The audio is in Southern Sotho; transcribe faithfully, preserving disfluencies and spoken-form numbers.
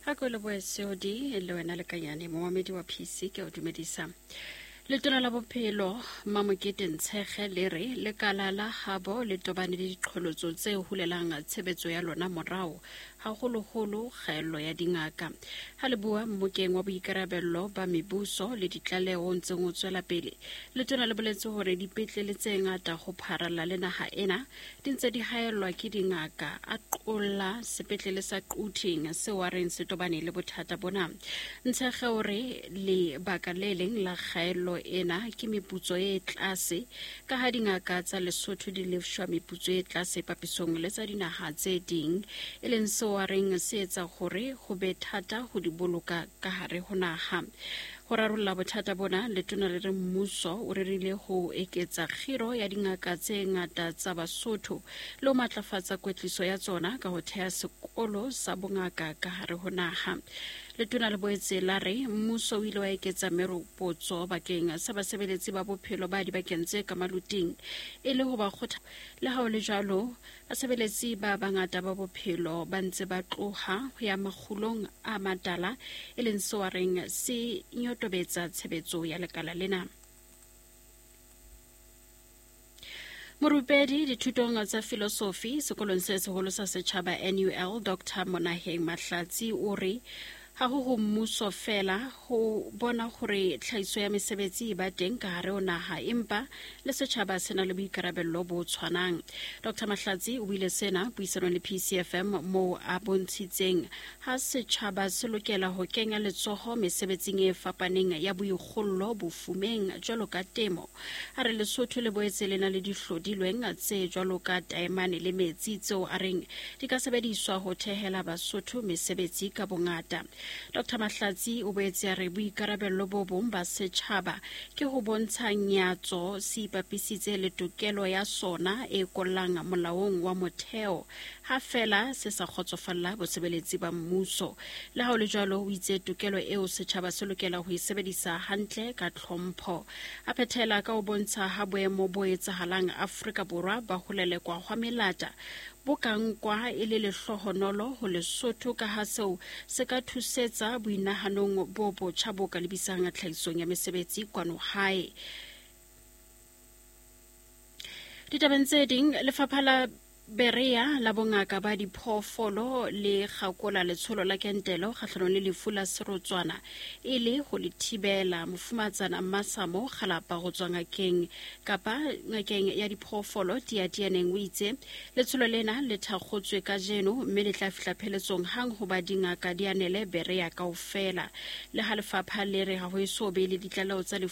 Ha ko lebohe C O D le wena lekanyane momamedi wa P C, ke o dumedisa. Letona la Bophelo Mamokete Ntshege le re lekala la habo le tobane le diqholotso tse hulelang tshebetso ya lona morao, haholoholo kgaello ya dingaka. Ha le bua mmokeng wa boikarabello ba mebuso le ditlaleho o ntseng o tswela pele, letona le boletse hore dipetlele tse ngata ho pharalla le naha ena di ntse di haellwa ke dingaka, a qolla sepetlele sa Quthing seo a reng se tobane le bothata bona. Ntshege o re lebaka le leng la kgaello ena ke meputso e tlase, ka ha dingaka tsa Lesotho di lefshwa meputso e tlase papisong le tsa dinaha tse ding, e leng seo a reng se etsa hore ho be thata ho di boloka ka hare ho naha. Ho rarolla bothata bona, letona le re mmuso o rerile ho eketsa kgiro ya dingaka tse ngata tsa Basotho le ho matlafatsa kwetliso ya tsona ka ho theha sekolo sa bongaka ka hare ho naha. Letona le boetse la re mmuso o ile wa eketsa meropotso bakeng sa basebeletsi ba bophelo ba dibakeng tse ka maluting e le ho ba kgotha. Le ha ho le jwalo, basebeletsi ba bangata ba bophelo ba ntse ba tloha ho ya makgulong a matala, e leng seo a reng se nyotobetsa tshebetso ya lekala lena. Morupedi dithutong tsa filosofi sekolong se seholo sa setjhaba N U L, Doctor Monaheng Mahlatsi, o re ha ho ho mmuso fela ho bona hore tlhahiso ya mesebetsi e ba teng ka hare ho naha, empa le setjhaba se na le boikarabello bo tshwanang. Doctor Mahlatsi o buile sena puisanong le P C F M, moo a bontshitseng ha setjhaba se lokela ho kenya letsoho mesebetsing e fapaneng ya boikgollo bofumeng jwalo ka temo. A re Lesotho le boetse le na le dihlodilweng tse jwalo ka taemane le metsi, tseo a reng di ka sebediswa ho thehela Basotho mesebetsi ka bongata. Doctor Mahlatsi o boetse a re boikarabello bo bong ba setjhaba ke ho bontsha nyatso se ipapisitse le tokelo ya sona e kollang molaong wa motheo ha fela se sa kgotsofalla bosebeletsi ba mmuso. Le ha ho le jwalo, o itse tokelo eo setjhaba se lokela ho e sebedisa hantle ka tlhompho. A phethela ka ho bontsha ha boemo bo etsahalang Afrika Borwa ba ho lelekwa hwa melata bo ka nkwa e le lehlohonolo ho Lesotho, ka ha seo se ka thusetsa boinahanong bo botjha bo ka lebisang tlhahisong ya mesebetsi kwano hae. Ditabeng tse ding, lefapha la Berea la bongaka ba diphoofolo le kgakola letsholo la kentelo kgahlanong le lefu la serotswana e le ho le thibela. Mofumatsana Masamo Kgalapa go tswa ngakeng kapa ngakeng ya diphoofolo Tiatianeng o itse letsholo lena le thakgotswe kajeno mme le tla fihla pheletsong hang hoba dingaka di anele Berea kaofela. Le ha lefapha le re ha ho eso be le ditlaleho tsa lefu.